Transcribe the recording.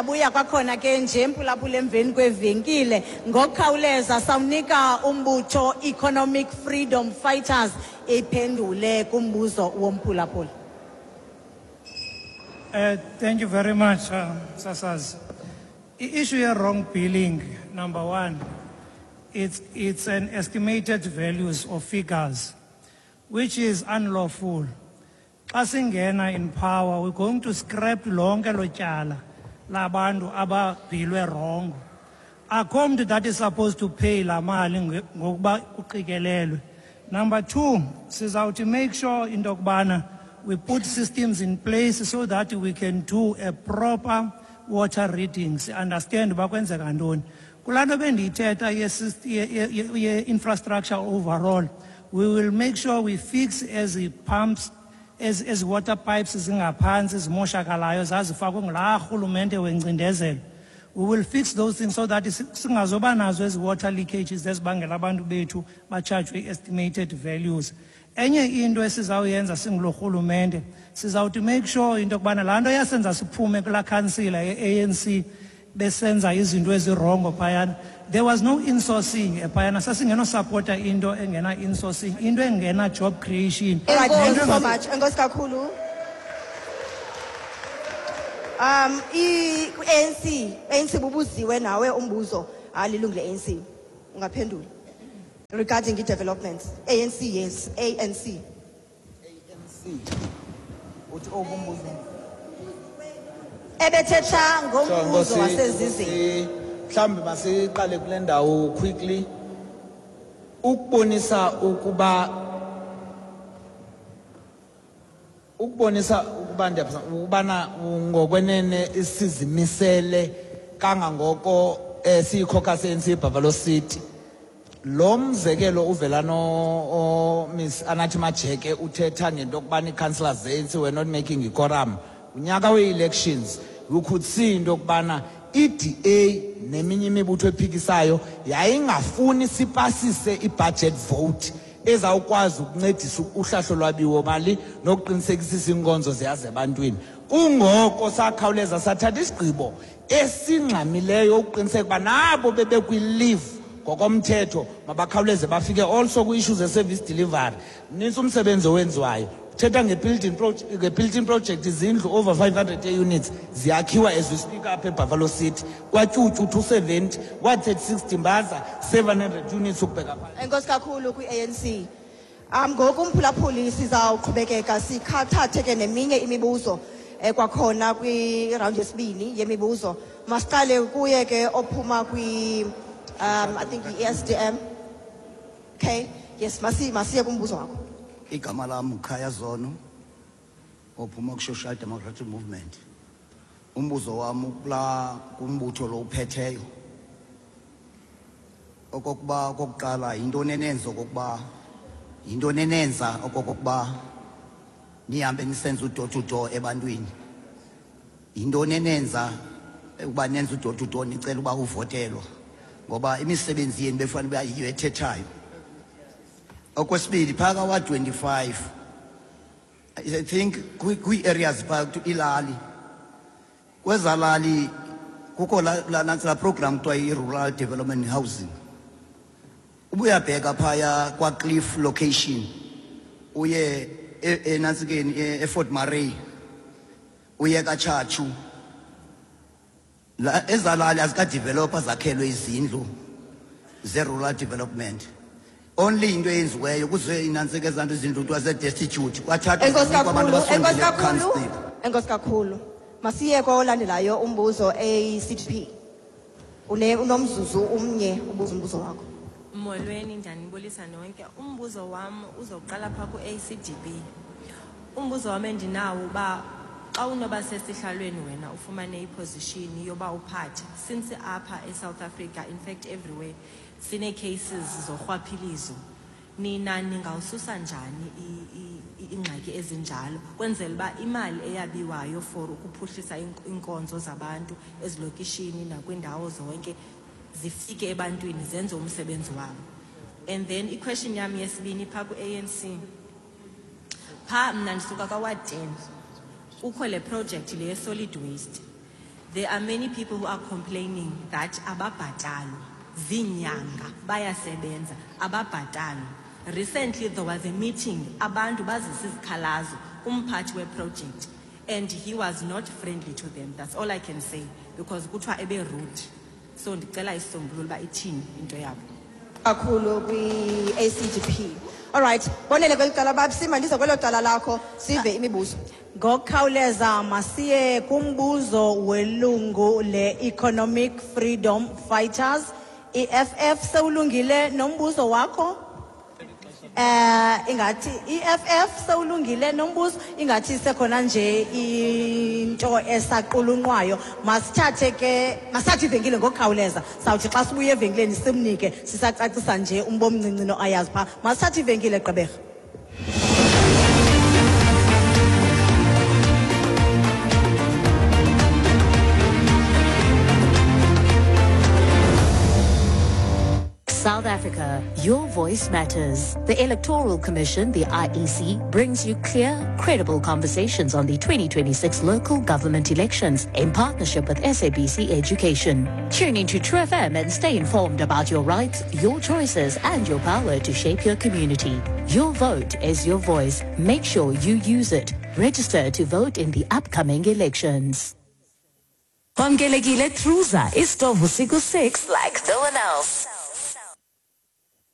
Siyabuya kwakhona ke nje, mphulaphula, emveni kwevenkile. Ngokukhawuleza sawunika umbutho Economic Freedom Fighters iphendule kumbuzo womphulaphula. Thank you very much, Sasaz. Issue ye wrong billing, number one, it's an estimated values of figures, which is unlawful. Xa singena in power, we're going to scrap lonke lo tyala labantu ababhilwe wrong. Akho mntu that is supposed to pay la mali ngokuba kuqikelelwe. Number two, sizawuthi make sure into yokubana we put systems in place so that we can do a proper water readings, understand uba kwenzeka ntoni. Kulaa nto bendiyithetha ye-infrastructure overall, we will make sure we fix ezi pumps, ezi water pipes zingaphantsi zimoshakalayo zazifakwe ngulaa rhulumente wencindezelo. We will fix those things so that singazoba nazo ezi water leakages ezibangela abantu bethu batshajwe i-estimated values. Enye into esizawuyenza singulo rhulumente, sizawuthi make sure into yokubana laa nto yasenza siphume kulaa khansila ye-ANC besenza izinto ezi-wrong phayana. There was no insourcing phayana, sasingenosapota into engena insourcing, into engena job creation. All right, thank you Nento so much. Enkosi kakhulu. I ANC, ANC, bubuziwe nawe umbuzo, alilungu le-ANC. Ungaphendula. Regarding i-developments. ANC, yes, ANC. ANC. Uthi okumbuzo. Ebethetha ngombuzo Nkosi, wasezizini. Nkosi, mhlawumbi masiqale kule ndawo quickly ukubonisa ukuba ukubana ngokwenene sizimisele kangangoko siyi-caucus ANC Buffalo City. Lo mzekelo uvela no Miss Anathi Majeke uthetha ngento yokubana ii-councillors ze-ANC were not making i-quorum unyaka we-elections. You could see into yokubana i-DA neminye imibutho ephikisayo yayingafuni sipasise i-budget vote ezawukwazi ukuncedisa uhlahlo lwabiwo mali nokuqinisekisisa iinkonzo ziyaza ebantwini. Kungoko sakhawuleza sathatha isigqibo esingxamileyo ukuqiniseka uba nabo bebekwi-leave ngokomthetho mabakhawuleze bafike. Also kwi-issue ze-service delivery, mnintsi umsebenzi owenziwayo. Thetha nge-building project, izindlu over 500 units ziyakhiwa as we speak apha eBuffalo City, KwaTyutyu 270, Ward 36 Dimbaza 700 units ukubheka phantsi. Enkosi kakhulu kwi-ANC. Ngoku umphulaphuli, sizawuqhubekeka sikhathathe ke neminye imibuzo kwakhona kwi-round yesibini yemibuzo. Masiqale kuye ke ophuma kwi I think i-SDM. Okay, yes, masiye kumbuzo wakho. Igama lam Khaya Zono, ophuma ku-Social Democratic Movement. Umbuzo wam kula kumbutho lo uphetheyo, okokuba okokuqala, yintoni enenza okokuba nihambe nisenza u-door to door ebantwini? Yintoni enenza ukuba nenze u-door to door nicela uba uvotelwa, ngoba imisebenzi yenu befanele uba yiyo ethethayo? Okwesibili, phaka wa 25, I think kwii-areas phaa ilali, kwezalali kukho la nantsi la program kuthiwa i-rural development housing. Ubuyabheka phaya kwaCliff location, uye enantsikeni eFort Murray, uye kaTshatshu, la ezalali azikadevelopa zakhelwe izindlu ze-rural development. Only into eyenziweyo kuze inantsika ezanto izindlu kuthiwa ze-destitute kwathathwa Enkosi zinikwa abantu kakhulu, enkosi abasondele kakhulu. kukhansila. Enkosi kakhulu. Masiye kolandelayo umbuzo, ACDP. Unomzuzu umnye ubuza umbuzo wakho. Molweni, ndiyanibulisa nonke. Umbuzo wam uzoqala phaa ku-ACDB. Umbuzo wam endinawo uba xa unoba sesihlalweni wena ufumane i-position yoba uphathe, since apha eSouth Africa, in fact everywhere, sinee-cases zorhwaphilizo, nina ningawususa njani iingxaki ezinjalo kwenzela uba imali eyabiwayo for ukuphuhlisa iinkonzo zabantu ezilokishini nakwiindawo zonke zifike ebantwini, zenze umsebenzi wabo? And then i-question yam yesibini phaa ku-ANC. Phaa mna ndisuka ka-ward 10, kukho le project le ye-solid waste. There are many people who are complaining that ababhatalwa ziinyanga, bayasebenza, ababhatalwa. Recently there was a meeting, abantu bazisa izikhalazo kumphathi weproject and he was not friendly to them. That's all I can say, because kuthiwa ebe-rude. So ndicela isisombululo uba ithini into yabo. Kakhulu kwi-ACDP. All right, bonele kweli cala babsima, ndize kwelo cala lakho sive imibuzo. Ngokukhawuleza masiye kumbuzo welungu le-Economic Freedom Fighters, EFF. Sewulungile nombuzo wakho? Ingathi EFF sewulungile nombuzo, ingathi sekhona nje into esaqulunqwayo. Masithathe ke, masithathe ivenkile ngokukhawuleza. Sawuthi xa sibuya evenkileni simnike, sisacacisa nje umbo omncinci noayazi phaa. Masithathe ivenkile, Gqeberha. South Africa, your voice matters. The Electoral Commission, the IEC, brings you clear, credible conversations on the 2026 local government elections in partnership with SABC Education. Tune into True FM and stay informed about your rights, your choices, and your power to shape your community. Your vote is your voice. Make sure you use it. Register to vote in the upcoming elections. Wamkelekile Truza, isitovu siku 6 like no one else.